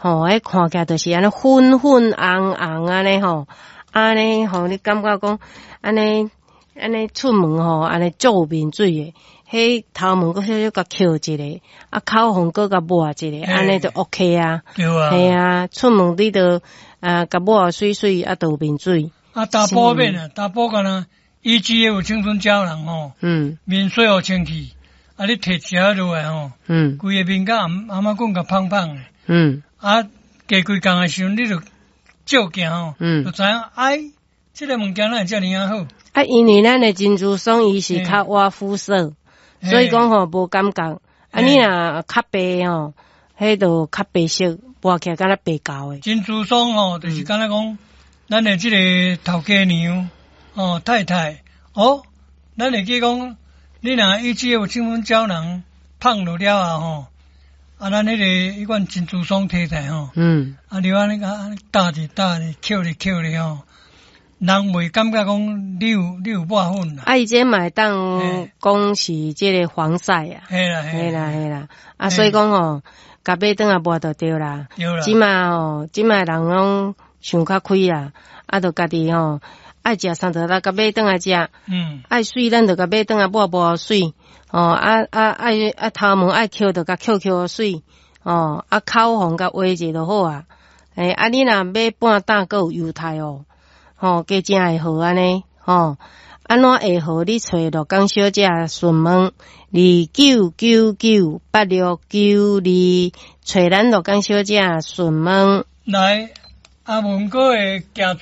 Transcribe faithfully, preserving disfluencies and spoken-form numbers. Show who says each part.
Speaker 1: 吼，彼看起來就是按呢粉粉紅紅按呢吼，按呢吼，你感覺講按呢按呢出門吼，按呢做面水的，彼頭毛閣小小共抾一下，啊口紅閣共抹一下，按呢就 OK 啊。
Speaker 2: 對啊。
Speaker 1: 嘿啊，出門你就啊共抹媠媠，啊就有面水。
Speaker 2: 啊，查埔免啊，查埔敢若 E G F 青春膠囊吼，
Speaker 1: 嗯，
Speaker 2: 面洗予清氣，啊，你提一下落來吼，
Speaker 1: 嗯，
Speaker 2: 規个面甲頷頷頸共芳芳的，
Speaker 1: 嗯，
Speaker 2: 啊，過幾工的時陣，你就照鏡吼，
Speaker 1: 嗯，
Speaker 2: 就知影，哎，這个物件哪會遮爾仔好？
Speaker 1: 啊，因為咱的珍珠霜伊是較倚膚色，所以講吼無感覺。啊，你若較白吼，彼就較白色，抹起來敢若白膠的。
Speaker 2: 珍珠霜吼，就是敢若講，咱的這个頭家娘。哦，太太，哦，咱會記講，你若以這個青春膠囊放落了後吼，啊，咱彼个彼款珍珠霜提來吼，
Speaker 1: 嗯，
Speaker 2: 啊，你按呢共搭咧搭咧，抾咧抾咧吼，人袂感覺講你有你有抹粉啦。
Speaker 1: 啊，伊這嘛會當講是這个防曬啊，
Speaker 2: 嘿啦
Speaker 1: 嘿啦嘿啦，啊，所以講吼，共買轉來抹就對啦。
Speaker 2: 對啦。
Speaker 1: 這馬吼，這馬人攏想較開啦，啊，就家己吼。愛食啥就來共買轉來食，
Speaker 2: 嗯，
Speaker 1: 愛媠咱就共買轉來抹抹媠，哦，啊啊愛啊頭毛愛抾就共抾抾媠，哦，啊口紅共畫者就好啊，欸，啊你若買半擔閣有猶太哦，吼，加正會好按呢，吼，按怎會好？你揣鹿港小姐詢問二九九九八六九二，揣咱鹿港小姐詢問。
Speaker 2: 來，阿文哥的行船。